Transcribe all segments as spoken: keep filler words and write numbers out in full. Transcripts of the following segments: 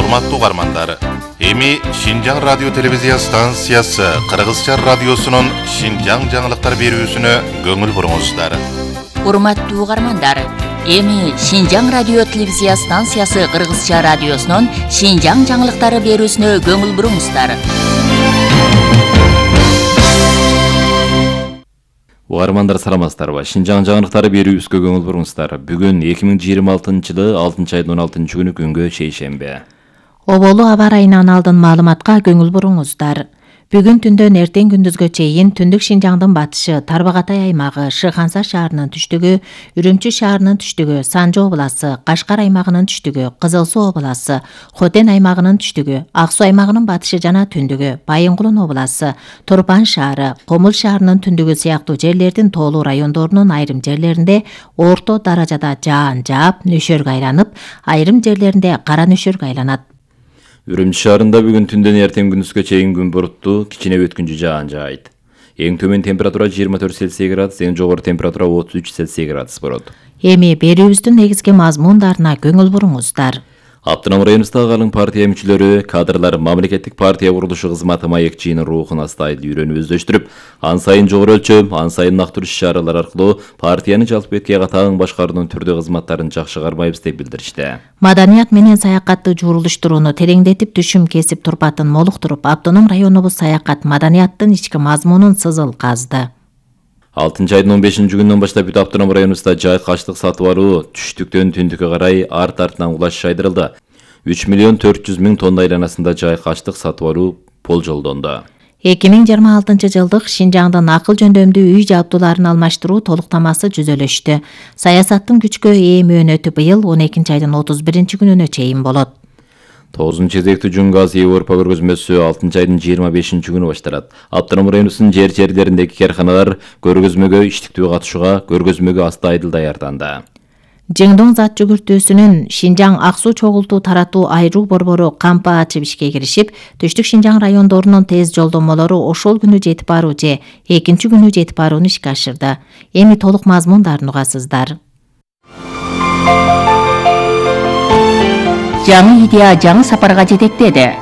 Урматтуу угармандар, эми Шинжаң радио телевизия станциясы Кыргызча радиосунун Шинжаң жаңылыктар берүүсүнө көңүл буруңуздар. Урматтуу угармандар, эми Шинжаң радио телевизия станциясы Кыргызча радиосунун Шинжаң жаңылыктары берүүсүнө көңүл буруңуздар. Угармандар саламатсыздарбы? Шинжаң жаңылыктары берүүбүзгө көңүл буруңуздар. Бүгүн эки миң жыйырма алтынчы жылы алтынчы айдын он алтынчы күнү күнгө шейшемби. Оболу аба ырайынан алдын маалыматка көңүл буруңуздар. Бүгүн түндөн эртең күндүзгө чейин түндүк Шинжаңдын батышы, Тарбагатай аймагы, Шыханса шаарынын түштүгү, Үрүмчү шаарынын түштүгү, Санжы обласы, Кашкар аймагынын түштүгү, Кызыл Суу обласы, Хотен аймагынын түштүгү, Ак Суу аймагынын батышы жана түндүгү, Байынгулун обласы, Турпан шаары, Комул шаарынын түндүгү сыяктуу жерлердин тоолуу райондорунун айрым жерлеринде орто даражада жаан жаап, нөшөргө айланып, айрым жерлеринде кара нөшөргө айланат. Үрүмчү шаарында бүгүн түндөн эртең күндүзгө чейин күн буруттуу, кичине өткүнчү жаан жаайт. Эң төмөн температура жыйырма төрт Цельсий градус, эң жогору температура отуз үч Цельсий градус болот. Эми берүүбүздүн негизги мазмундарына көңүл буруңуздар. Аптынам районундагы калың партия мүчөлөрү, кадрлар мамлекеттик партия курулушу кызматы маекчиинин рухун астайыл үйрөнүп өздөштүрүп, ан сайын жогору өлчөм, ан сайын нактуу иш-чаралар аркылуу партияны жалпы бетке катаң башкаруунун түрдүү кызматтарын жакшы кармайбыз деп билдиришти. Маданият менен саякатты журулуштурууну тереңдетип, түшүм кесип турпатын молуктуруп, Аптоном районубуз саякат маданияттын ички мазмунун сызыл казды. алтынчы айдын он бешинчи күнүнөн баштап бүт Аптоном районубузда жай качтык сатып алуу түштүктөн түндүккө карай арт-артынан улаш айдырылды. үч миллион төрт жүз миң тонна айланасында жай качтык сатып алуу болжолдонду. эки миң жыйырма алтынчы жылдык Шинжаңдын акыл жөндөмдүү үй жабдууларын алмаштыруу толуктамасы жүзөлөштү. Саясаттын күчкө ээ мөөнөтү быйыл он экинчи айдын отуз биринчи күнүнө чейин болот. тогузунчу кезектүү Жөн газ Европа көргөзмөсү алтынчы айдын жыйырма бешинчи күнү башталат. Аптоном районубуздун жер жерлериндеги карханалар көргөзмөгө иштиктүү катышууга, көргөзмөгө астайдыл даярданды. Жеңдоң зат жүгүртүүсүнүн Шинжаң ак суу чогултуу таратуу айруу борбору кампа ачып ишке киришип, Түштүк Шинжаң райондорунун тез жолдомолору ошол күнү жетип баруу же экинчи күнү жетип барууну ишке ашырды. Эми толук мазмундарын угасыздар. Жаңы идея жаңы сапарга жетектеди.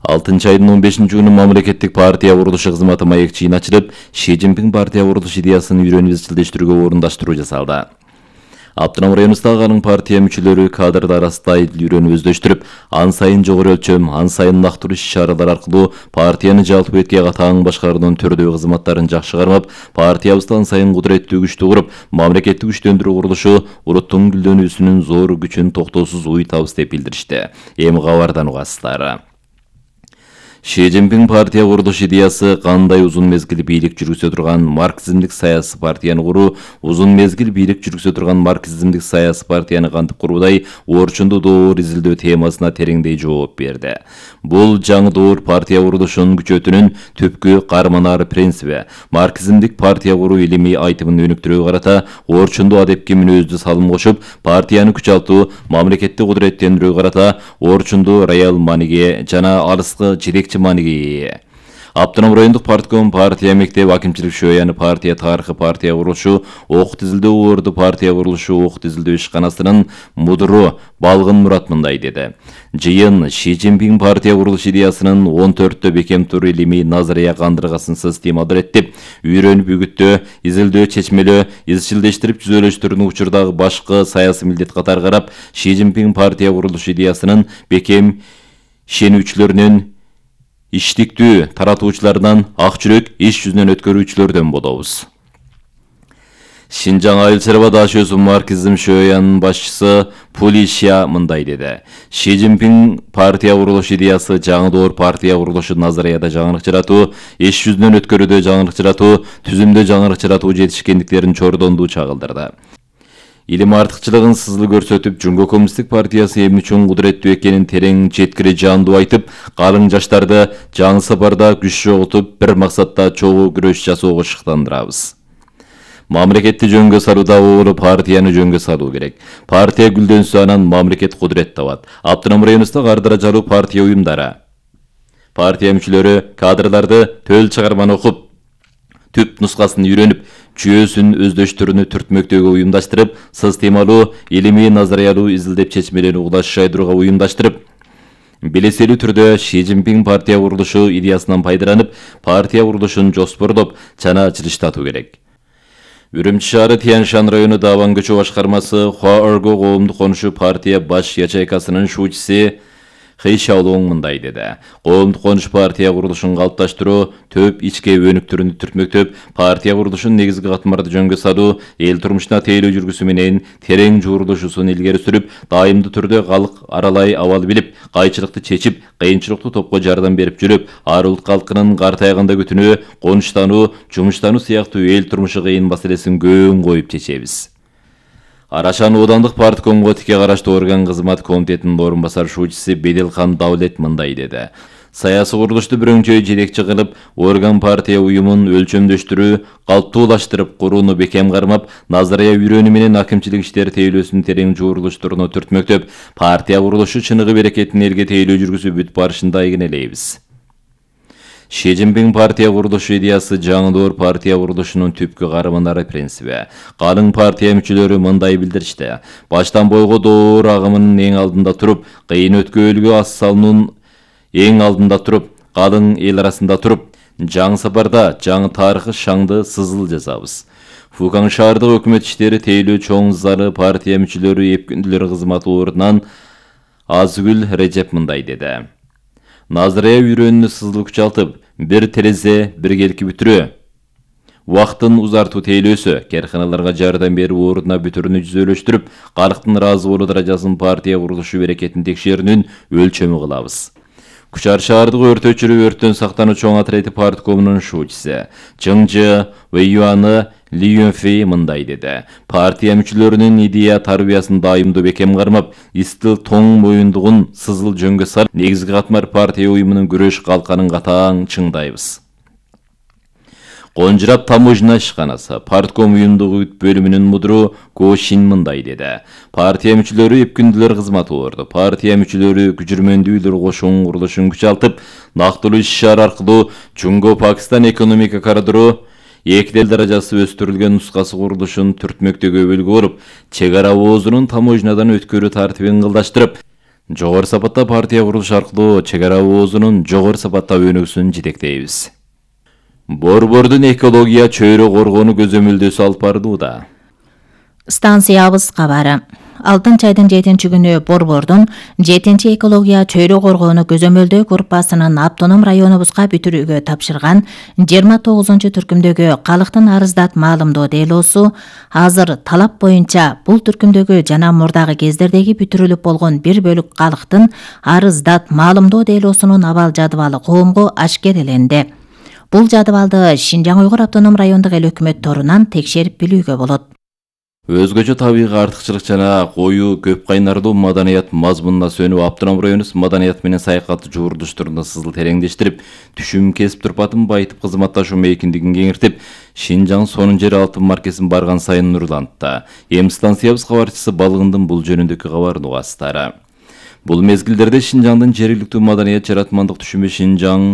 алтынчы айдын он бешинчи күнү мамлекеттик партия курулушу кызматы маекчиин ачылып, Ши Цзиньпин партия курулуш идеясын үйрөнүп изчилдештирүүгө орундаштыруу жасалды. Аптоном районундагы калың партия мүчөлөрү, кадрлар астайыл үйрөнүп өздөштүрүп, ан сайын жогору өлчөм, ан сайын нактуу иш-чаралар аркылуу партияны жалпы бетке катаң башкаруунун түрдүү кызматтарын жакшы кармап, партиябызды ан сайын кудуреттүү күчтүү куруп, мамлекеттик күчтөндүрүү курулушу улуттун гүлдөнүүсүнүн зор күчүн токтоосуз уйтабыз деп билдиришти. Эми кабардан угасыздар. Ши Цзиньпин партия курулуш идеясы кандай узун мезгил бийлик жүргүзө турган марксизмдик саясий партияны куруу, узун мезгил бийлик жүргүзө турган марксизмдик саясий партияны кантип куруудай орчундуу доор изилдөө темасына тереңдей жооп берди. Бул жаңы доор партия курулушунун күчөтүнүн түпкү карманар принциби, марксизмдик партия куруу илимий айтымын өнүктүрүүгө карата орчундуу адепки мүнөздү салым кошуп, партияны күчалтуу, мамлекеттик кудуреттендирүүгө карата орчундуу роял мааниге жана алыскы жетекчи маниге. Аптоном райондук партком партия мектеп акимчилик шөйяны партия тарыхы партия курулушу, ок тизилдөө орду партия курулушу ок тизилдөө ишканасынын мудуру Балгын Мурат мындай деди. Жыйын Ши Цзиньпин партия курулуш идеясынын он төрттө бекем тур илимий назария кандыргасынсыз стималдыреттип, үйрөнүп үгүттөө, изилдөө, чечмелөө, изчилдештирип түзөлөштүрүүнү учурдагы башкы саясий милдет катары карап, Ши Цзиньпин партия курулуш идеясынын бекем ишенүүчүлөрүнүн иштиктүү таратуучулардан, ак жүрөк иш жүзүнөн өткөрүүчүлөрдөн болобуз. Шинжаң айыл чарба дашөөсү марксизм шөйянын башчысы Пулишя мындай деди. Ши Цзиньпин партия курулуш идеясы жаңы доор партия курулушу назарияда жаңылык жаратуу, иш жүзүнөн өткөрүүдө жаңылык жаратуу, түзүмдө жаңылык жаратуу жетишкендиктерин чордондуу чагылдырды. Илим артыкчылыгын сызыл көрсөтүп, Жумго коммунисттик партиясы эмне үчүн кудуреттүү экенин терең жеткире жандуу айтып, калың жаштарды жаңы сапарда күч жоготуп, бир максатта чогуу күрөш жасоого шыктандырабыз. Мамлекетти жөнгө салууда оолу партияны жөнгө салуу керек. Партия гүлдөнсө анан мамлекет кудурет табат. Аптоном районундагы ар даражалуу партия уюмдары, партия мүчөлөрү, кадрларды төл чыгарманы окуп, түп нускасын үйрөнүп, жүйөсүн өздөштөрүнү түртмөктөгө уюмдаштырып, системалуу, илимий, назариялуу изилдеп чечмелерди угулаш жайдырууга уюмдаштырып, белеселүү түрдө Ши Цзиньпин партия курулушу идеясынан пайдаланып, партия курулушун жоспордоп, жана жылыштатуу керек. Үрүмчү шаары Тяньшан району Даван көчө башкармасы Хуаорго коомдук конушу партия баш ячейкасынын шуучуси Хэй Шаолуң мындай деди. Коомдук конуш партия курулушун калыпташтыруу, төп ички өнүктөрүнү түртмөктөп, партия курулушун негизги катмарды жөнгө салуу, эл турмушуна тейлөө жүргүсү менен терең жуурулушусун илгери сүрүп, дайымдуу түрдө калк аралай абал билип, кайчылыкты чечип, кыйынчылыктуу топко жардам берип жүрүп, ар улут калкынын картайганда күтүнүү, конуштануу, жумуштануу сыяктуу эл турмушу кыйын маселесин көң коюп чечебиз. Арашан Оодандык парткомго тике караштуу орган кызмат комитетинин орун басар шуучусы Беделхан Даулет мындай деди. Саясий курулушту бүрөңчөй жетекчи кылып, орган партия уюмун өлчөмдөштүрүү, калптуулаштырып курууну бекем кармап, назария үйрөнүү менен акимчилик иштери тейлөөсүн терең жуурулуштуруну түртмөктөп, партия курулушу чыныгы берекетин элге тейлөө жүргүзүп бүт барышында ийгинелейбиз. Ши Цзиньпин партия курулушу идеясы жаңылоор партия курулушунун түпкү карымынары принциби. Калың партия мүчөлөрү мындай билдиришти. Баштан бойго доор агымынын эң алдында туруп, кыйын өткөөлгө ас салуунун эң алдында туруп, калың эл арасында туруп, жаңы сапарда жаңы тарыхы шаңды сызыл жазабыз. Фукан шаардык өкмөт иштери тейлөө чоң залы партия мүчөлөрү эпкүндүлөр кызматы ордунан Азгүл Режеп мындай деди. Назария үйрөнүүнү сызыл күчалтып, бир терезе, бир келки бүтүрөө. Убакытын узартуу тейлөөсү, карканаларга жардам берүү ордуна бүтүрүнү жүзөлөштүрүп, калктын ыраазы болуу даражасын партия курулушу берекетин текшерүүнүн өлчөмү кылабыз. Кучар шаардык өрт өчүрүү өрттөн сактануу чоң отрети парткомунун шуучусы Чыңжы Вэйюаны Ли Юнфэй мындай деди. Партия мүчөлөрүнүн идея тарбиясын дайымдуу бекем кармап, истил тоң моюндугун сызыл жөнгө салып, негизги катмар партия уюмунун күрөш калканын катаң чыңдайбыз. Конжурап таможня ишканасы партком уюмдугу бөлүмүнүн мудуру Го Шин мындай деди. Партия мүчөлөрү эпкүндүлөр кызматы орду. Партия мүчөлөрү күчүрмөндүүлөр кошуун курулушун күчалтып, нактылуу иш-ишара аркылуу Жунго Пакистан экономика коридору эки дел даражасы өстүрүлгөн нускасы курулушун түртмөктөгө өбөлгө болуп, чек ара оозунун таможнядан өткөрүү тартибин кылдаштырып, жогору сапатта партия курулушу аркылуу чек ара оозунун жогору сапатта өнүгүүсүн жетектейбиз. Борбордун экология чөйрө коргоону көзөмөлдөөсү алып барылууда. Станциябыз кабары. Алтынчы айдын жетинчи күнү Борбордун жетинчи экология чөйрө коргоону көзөмөлдөө группасынын автоном районубузга бүтүрүүгө тапшырган жыйырма тогузунчу түркүмдөгү калктын арыздат маалымдоо делосу азыр талап боюнча бул түркүмдөгү жана мурдагы кездердеги бүтүрүлүп болгон бир бөлүк калктын арыздат маалымдоо делосунун абал жадыбалы коомго ашкереленди. Бул жадыбалды Шинжаң Уйгур автоном райондук эл өкмөттөрүнөн текшерип билүүгө болот. Өзгөчө табигый артыкчылык жана коюу көп кайнардуу маданият мазмунуна сөнүп, автоном районубуз маданият менен саякаттуу жуурулуштуруна сызыл тереңдештирип, түшүм кесип турпатын байытып кызматташуу мейкиндигин кеңиртип, Шинжаң сонун жер алтын маркесин барган сайын нурлантты. Эми станциябыз кабарчысы Балыгындын бул жөнүндөгү кабарын угасыздары. Бул мезгилдерде Шинжаңдын жергиликтүү маданият жаратмандык түшүмү Шинжаң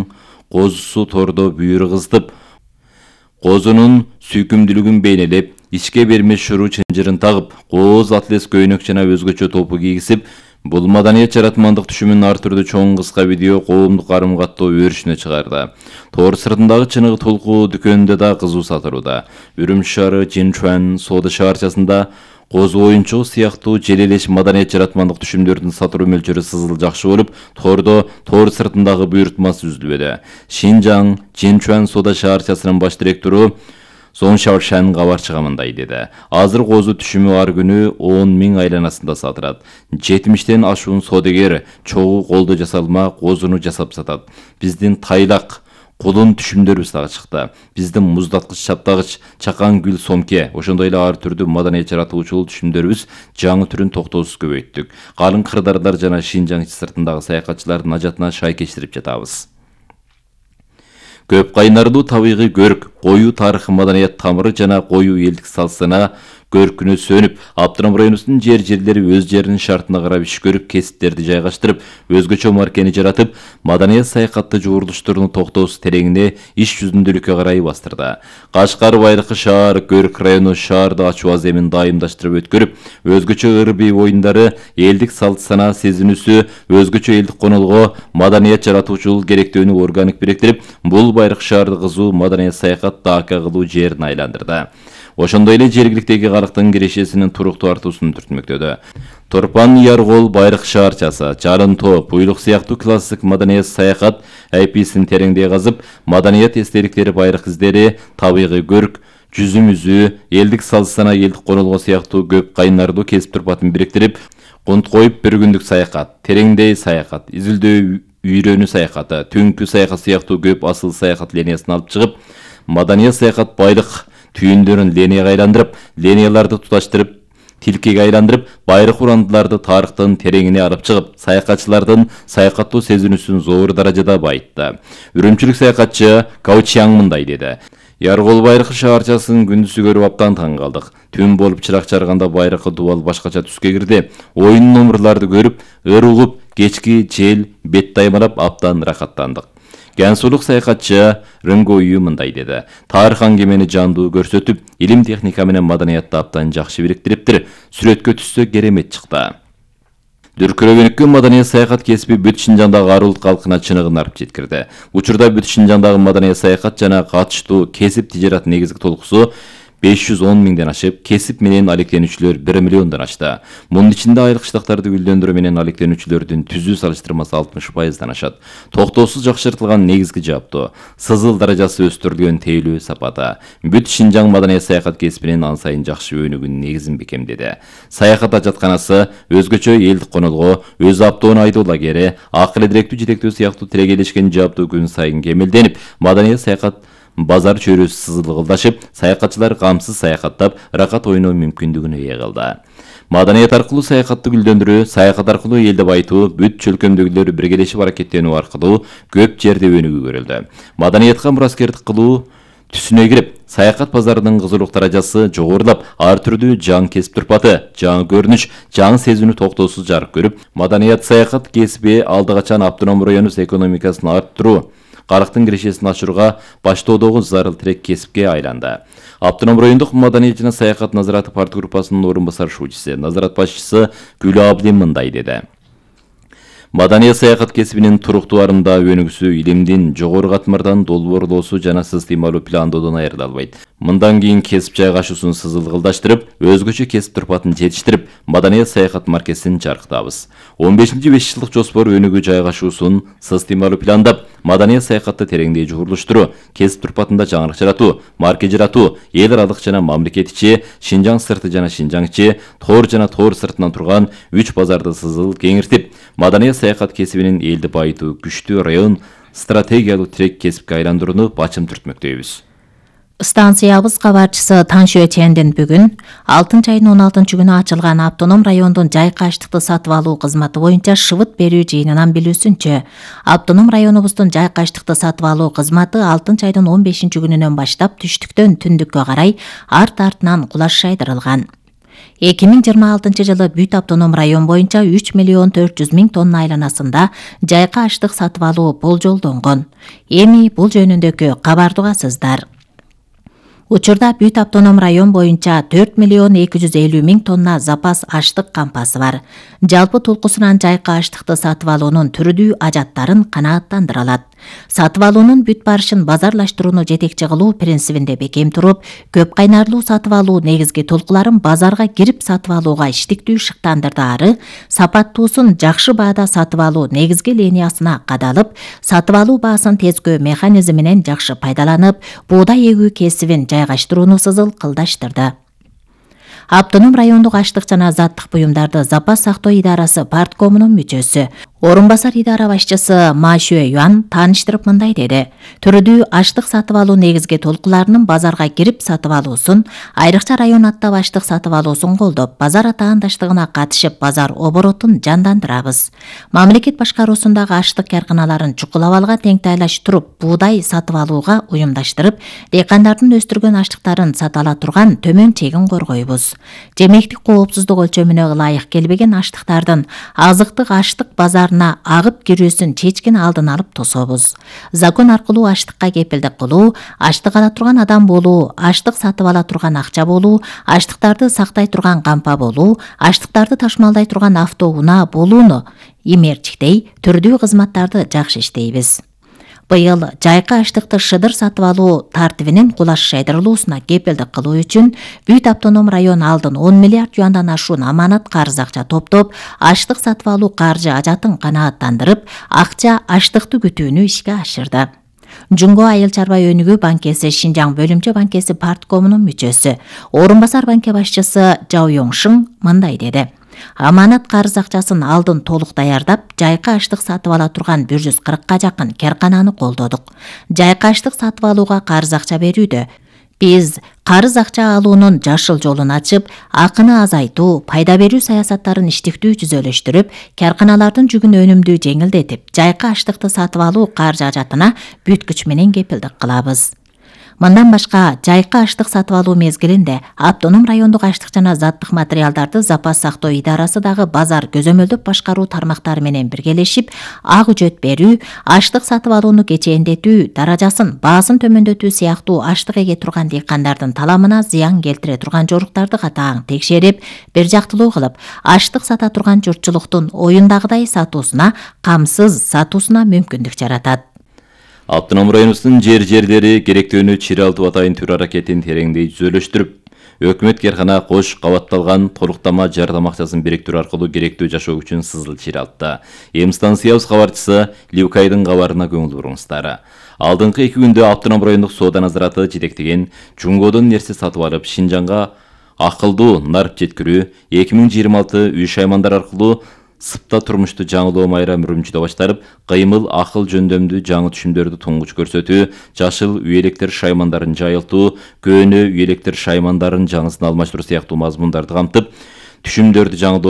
козусу тордо бүйүрү кызытып, козунун сүйкүмдүүлүгүн бейнелеп, ичке бермеш шуруу чынжырын тагып, кооз атлес көйнөк жана өзгөчө топу кийгизип, бул маданият жаратмандык түшүмүн ар түрдүү чоң кыска видео коомдук карым каттоо өрүшүнө чыгарды. Тоор сыртындагы чыныгы толку дүкөнүндө да кызуу сатылууда. Үрүмчү шаары Жинчуан соода шаарчасында козу оюнчугу сыяктуу желелеш маданият жаратмандык түшүмдөрдүн сатылуу мөлчөрү сызыл жакшы болуп, тордо тоор сыртындагы буйрутмасы үзүлбөдү. Шинжаң Жинчуан соода шаарчасынын баш директору Сон Шаошан кабарчыга мындай деди. Азыр козу түшүмү ар күнү он миң айланасында сатылат. жетимиштен ашуун соодагер чогуу колдо жасалма козуну жасап сатат. Биздин тайлак кулун түшүмдөрүбүз дагы чыкты. Биздин муздаткыч, чаптагыч, чакан гүл сомке, ошондой эле ар түрдүү маданият жаратуучулуу түшүмдөрүбүз жаңы түрүн токтоосуз көбөйттүк. Калың кырдаарлар жана Шинжаң сыртындагы саякатчылардын ажатына шайкештирип жатабыз. Көп кайнардуу табигый көрк, коюу тарыхы маданият тамыры жана коюу элдик салсына көркүнө сөнүп, Аптыном районубуздун жер жерлери өз жеринин шартына карап иш көрүп, кесиптерди жайгаштырып, өзгөчө маркени жаратып, маданият саякатты жуурулуштурууну токтоосуз тереңине иш жүзүндүүлүккө карай бастырды. Кашкар Байыркы шаар Көрк району шаарды ачуу аземин дайымдаштырып өткөрүп, өзгөчө ыр-бий оюндары, элдик салт санаа сезинүүсү, өзгөчө элдик конолго маданият жаратуучул керектөөнү органик бириктирип, бул Байыркы шаарды кызуу маданият саякат дака кылуу жерин айландырды. Ошондой эле жергиликтеги калктын кирешесинин туруктуу артуусун түртмөктөдү. Торпан, Яргол, Байыркы шаарчасы, Жарын тоо, Буйлук сыяктуу классик маданият саякат айписин тереңдей казып, маданият эстеликтери, байыркы издери, табигый көрк, жүзүм үзүү, элдик салт санаа, элдик конолго сыяктуу көп кайнардуу кесип турпатын бириктирип, кунт коюп бир күндүк саякат, тереңдей саякат, изилдөө үйрөнүү саякаты, түнкү саякат сыяктуу көп асыл саякат линиясын алып чыгып, маданият саякат байлык түйүндөрүн линияга айландырып, линияларды туташтырып, тилкеге айландырып, байыркы урандыларды тарыхтын тереңине алып чыгып, саякатчылардын саякаттуу сезинүүсүн зор даражада байытты. Үрүмчүлүк саякатчы Каучяң мындай деди: Яргол Байыркы шаарчасын күндүзү көрүп аптан таң калдык. Түн болуп чырак чарганда Байыркы дубал башкача түскө кирди. Оюн номерларды көрүп, ыр угуп, кечки жел бет даймалап аптан рахаттандык. Гансулук саякатчы Рынгою мындай деди: тарых аңгемени жандуу көрсөтүп, илим техника менен маданиятты аптан жакшы бириктириптир. Сүрөткө түссө керемет чыкты. Дүркүрөгөнүккө маданият саякат кесиби бүт Шинжаңдагы арулут калкына чыныгын арып жеткирди. Учурда бүт Шинжаңдагы маданият саякат жана катыштуу кесип тижарат негизги толкусу беш жүз он миңден ашып, кесип менен алектенүүчүлөр бир миллиондон ашты. Мунун ичинде айлык штактарды гүлдөндүрүү менен алектенүүчүлөрдүн түзүү салыштырмасы алтымыш пайыздан ашат. Токтоосуз жакшыртылган негизги жаптоо, сызыл даражасы өстүрүлгөн тейлөө сапаты бүт Шинжаң маданият саякат кесибинин ан сайын жакшы өнүгүүнүн негизин бекемдеди. Саякат ажатканасы өзгөчө элдик конолго, өз аптоон айдоо лагери, акыл эдиректүү жетектөө сыяктуу тирегелешкен жаптоо күн сайын кемелденип, маданият саякат базар чөйрөсү сызылгылдашып, саякатчылар камсыз саякаттап, ракат ойноо мүмкүндүгүнө ээ кылды. Маданият аркылуу саякатты гүлдөндүрүү, саякат аркылуу элди байытуу, бүт чөлкөмдөгүлөр биргелешип аракеттенүү аркылуу көп жерде өнүгүү көрүлдү. Маданиятка мураскердик кылуу түсүнө кирип, саякат базарынын кызуулук даражасы жогорулап, ар түрдүү жаңы кесип турпаты, жаңы көрүнүш, жаңы сезинүү токтоосуз жарык көрүп, маданият саякат кесиби алды качан Аптыном районубуз экономикасын арттыруу, карактын кирешесин ачырууга баштоодогу зарыл тирек кесипке айланды. Аптыном райондук маданият жана саякат назараты парт группасынын орун басар шуучусу, назарат башчысы Гүлө Абдин мындай деди: Маданият саякат кесибинин туруктуу арымда өнүгүүсү илимдин жогору катмардан долбоорлоосу жана системалуу пландоодон айырылбайт. Мындан кийин кесип жайгашуусун сызылгылдаштырып, өзгөчө кесип турпатын жетиштирип, маданият саякат маркесин жарыктабыз. он бешинчи беш жылдык жоспор өнүгүү жайгашуусун системалуу пландап, маданият саякатты тереңдей жуурулуштуруу, кесип турпатында жаңылык жаратуу, марке жаратуу, эл аралык жана мамлекет ичи, Шинжаң сырты жана Шинжаң ичи, тоор жана тоор сыртынан турган үч базарды сызыл кеңиртип, маданият саякат кесибинин элди байытуу күчтүү район стратегиялуу тирек кесипке айландырууну бачым түртмөктөйбүз. Станциябыз кабарчысы Таншө Чендин бүгүн алтынчы айдын он алтынчы күнү ачылган Аптоном райондун жайкы аштыкты сатып алуу кызматы боюнча шыбыт берүү жыйынынан билүүсүнчө, Аптоном районубуздун жайкы аштыкты сатып алуу кызматы алтынчы айдын он бешинчи күнүнөн баштап түштүктөн түндүккө карай арт-артынан кулаш шайдырылган. эки миң жыйырма алтынчы жылы бүт Аптоном район боюнча үч миллион төрт жүз миң тонна айланасында жайкы аштык сатып алуу болжолдонгон. Эми бул жөнүндөгү кабарды угасыздар. Учурда бүт Аптоном район боюнча төрт миллион эки жүз элүү миң тонна запас аштык кампасы бар. Жалпы толкусунан жайкы аштыкты сатып алуунун түрдүү ажаттарын канааттандыра алат. Сатып алуунун бүт барышын базарлаштырууну жетекчи кылуу принцибинде бекем туруп, көп кайнарлуу сатып алуу негизги толкуларын базарга кирип сатып алууга иштиктүү шыктандырдаары, сапаттуусун жакшы баада сатып алуу негизги линиясына кадалып, сатып алуу баасын тескөө механизми менен жакшы пайдаланып, буудай эгүү кесибин жайгаштырууну сызыл кылдаштырды. Аптоном райондук аштык жана заттык буюмдарды запас сактоо идарасы парткомунун мүчөсү, Орун басар идара башчысы Ма Шue Юан тааныштырып мындай деди. Түрдүү аштык сатып алуу негизги толкуларынын базарга кирип сатып алуусун, айрыкча район аттап аштык сатып алуусун колдоп, базар атаандаштыгына катышып, базар оборотун жандандырабыз. Мамлекет башкаруусундагы аштык карканаларын чукулап алга теңтайлаштырып, буудай сатып алууга уюмдаштырып, дыйкандардын өстүргөн аштыктарын сата ала турган төмөн чегин коргойбуз. Жемектик коопсуздук өлчөмүнө ылайык келбеген аштыктардын азыктык аштык базар агып кирүүсүн чечкин алдын алып тособуз. Закон аркылуу аштыкка кепилдик кылуу, аштык ала турган адам болуу, аштык сатып ала турган акча болуу, аштыктарды сактай турган кампа болуу, аштыктарды ташмалдай турган автоунаа болууну имерчиктей түрдүү кызматтарды жакшы иштейбиз. Быйыл жайкы аштыкты шыдыр сатып алуу тартибинин кулаш жайдырылуусуна кепилдик кылуу үчүн Бүт автоном район алдын он миллиард юандан ашуун аманат карыз акча топтоп, аштык сатып алуу каржы ажатын канааттандырып, акча аштыкты күтүүнү ишке ашырды. Жунго айыл чарба өнүгүү банкеси Шинжаң бөлүмчө банкеси парткомунун мүчөсү, орун басар банке башчысы Жао Йоңшың мындай деди. Аманат карыз акчасын алдын толук даярдап, жайкы аштык сатып ала турган бир жүз кыркка жакын каркананы колдодук. Жайкы аштык сатып алууга карыз акча берүүдө биз карыз акча алуунун жашыл жолун ачып, акыны азайтуу, пайда берүү саясаттарын иштиктүү түзөлүштүрүп, карканалардын жүгүн өнүмдүү жеңилдетип, жайкы аштыкты сатып алуу каржы ажатына бүт күч менен кепилдик кылабыз. Мындан башка жайкы аштык сатып алуу мезгилинде автоном райондук аштык жана заттык материалдарды запас сактоо идарасы дагы базар көзөмөлдөп башкаруу тармактары менен биргелешип, ак үчөт берүү, аштык сатып алууну кечээндетүү, даражасын, баасын төмөндөтүү сыяктуу аштык эге турган дыйкандардын таламына зыян келтире турган жоруктарды катаң текшерип, бир жактылуу кылып, аштык сата турган журтчулуктун оюндагыдай сатуусуна, камсыз сатуусуна мүмкүндүк жаратат. Автоном районубуздун жер-жерлери керектөөнү чиралтып атайын түр аракетин тереңдей түзөлүштүрүп, өкмөт каркана кош кабатталган толуктама жардам акчасын бириктирүү аркылуу керектүү жашоо үчүн сызыл чиралтты. Эми станциябыз кабарчысы Ливкайдын кабарына көңүл буруңуздар. Алдыңкы эки күндө автоном райондук соода назараты жетектеген Жунгодон нерсе сатып алып, Шинжаңга акылдуу нарып жеткирүү эки миң жыйырма алты үй шаймандар аркылуу сыпта турмушту жаңылоо майра мүрүмчүдө башталып, кыймыл акыл жөндөмдүү жаңы түшүмдөрдү туңгуч көрсөтүү, жашыл үй электр шаймандарын жайылтуу, көөнө үй электр шаймандарын жаңысын алмаштыруу сыяктуу мазмундарды камтып, түшүмдөрдү жаңылоо